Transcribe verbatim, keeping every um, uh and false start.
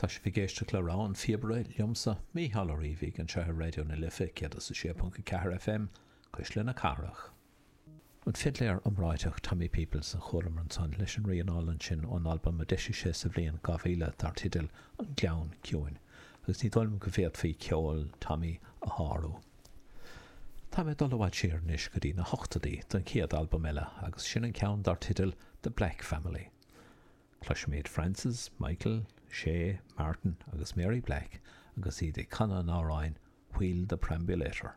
Tá sibh ag éisteacht le Rogha an Phíobaire liomsa, Mícheál Ó Riabhaigh, anseo ar Raidió na Life céad is a sé ponc a ceathair F M, Cuisle na Cathrach. An fidléir iomráiteach Tommy Peoples a chualamar ansan leis an rian álainn sin ón albam a d'eisigh sé sa bhliain dhá mhíle dar teideal An Gleann Ciúin, agus ní dóigh liom go bhféadfaí ceol Tommy a shárú. Tá mé ag dul i bhfad siar anois go dtí na hochtóidí don chéad albam eile, agus sin an ceann dar teideal The Black Family. Cloisfimid Francis, Michael, Shay, Martin agus Mary Black agus iad ag canadh an amhráin Wheel the Perambulator.